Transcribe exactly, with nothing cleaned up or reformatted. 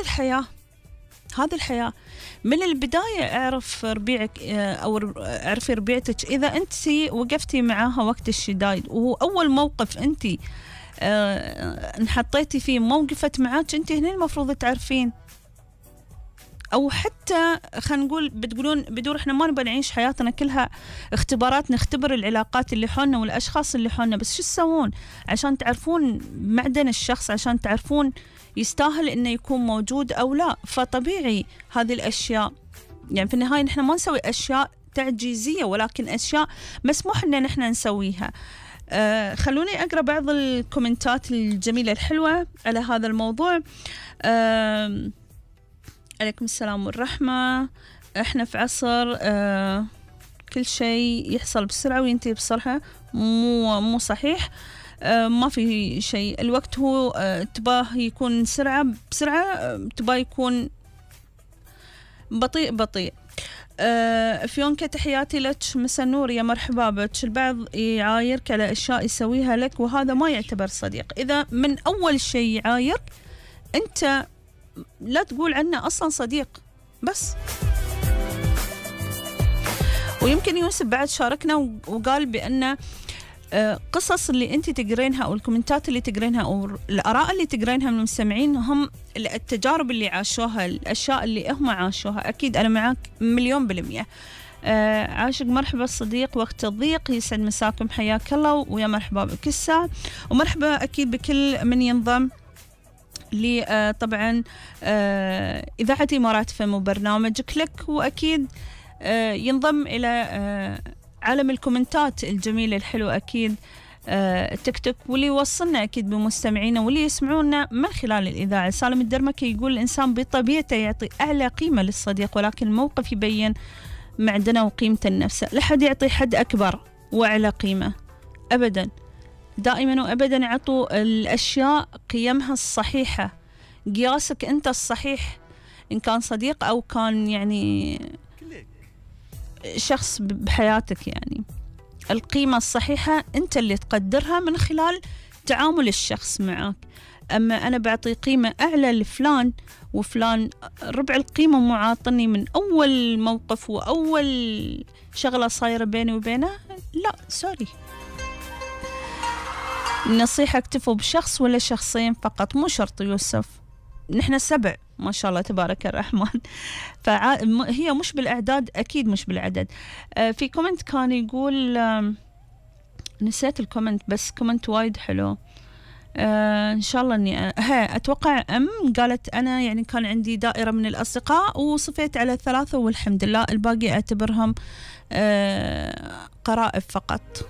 الحياة، هذه الحياة. من البداية اعرف ربيعك أو اعرفي ربيعتك. إذا أنت وقفتي معاها وقت الشدايد وهو أول موقف أنت اه انحطيتي فيه موقفت معاك، أنت هنا المفروض تعرفين. أو حتى خلينا نقول بتقولون بدور إحنا ما نبغى نعيش حياتنا كلها اختبارات، نختبر العلاقات اللي حولنا والأشخاص اللي حولنا، بس شو تسوون عشان تعرفون معدن الشخص، عشان تعرفون يستاهل إنه يكون موجود أو لا. فطبيعي هذه الأشياء يعني في النهاية نحن ما نسوي أشياء تعجيزية، ولكن أشياء مسموح إن نحن نسويها. آه خلوني أقرأ بعض الكومنتات الجميلة الحلوة على هذا الموضوع. آه عليكم السلام والرحمة. احنا في عصر آه كل شيء يحصل بسرعة وينتهي بسرعة، مو مو صحيح. آه ما في شيء، الوقت هو آه تباه يكون سرعة بسرعة، آه تباه يكون بطيء بطيء. آه فيونكا تحياتي لك، مسا النور، يا مرحبا بك. البعض يعايرك على أشياء يسويها لك وهذا ما يعتبر صديق. إذا من أول شيء يعايرك أنت لا تقول عنه أصلا صديق بس. ويمكن يوسف بعد شاركنا وقال بأن قصص اللي أنت تقرينها أو الكومنتات اللي تقرينها أو الآراء اللي تقرينها من المستمعين هم التجارب اللي عاشوها، الأشياء اللي هم عاشوها. أكيد أنا معك مليون بالمية. عاشق مرحبا الصديق وقت الضيق، يسعد مساكم، حياك الله ويا مرحبا بك الساعة، ومرحبا أكيد بكل من ينضم لي. آه طبعا آه إذاعة إمارات فم وبرنامجك لك، وأكيد آه ينضم إلى آه عالم الكومنتات الجميلة الحلوة أكيد آه تيك توك، واللي يوصلنا أكيد بمستمعينا واللي يسمعونا من خلال الإذاعة. سالم الدرمكي يقول الإنسان بطبيعته يعطي أعلى قيمة للصديق، ولكن الموقف يبين معدنه وقيمته النفس. لا حد يعطي حد أكبر وأعلى قيمة أبدا، دائما وأبدا عطوا الأشياء قيمها الصحيحة، قياسك أنت الصحيح، إن كان صديق أو كان يعني شخص بحياتك. يعني القيمة الصحيحة أنت اللي تقدرها من خلال تعامل الشخص معك. أما أنا بعطي قيمة أعلى لفلان وفلان ربع القيمة معاطني من أول موقف وأول شغلة صايرة بيني وبينه، لا سوري. النصيحة اكتفوا بشخص ولا شخصين فقط، مو شرط يوسف، نحن سبع ما شاء الله تبارك الرحمن، فهي مش بالأعداد، أكيد مش بالعدد. آه في كومنت كان يقول آه نسيت الكومنت بس كومنت وايد حلو. آه إن شاء الله إني ها أتوقع أم قالت أنا يعني كان عندي دائرة من الأصدقاء وصفيت على ثلاثة والحمد لله، الباقي أعتبرهم آه قرائب فقط.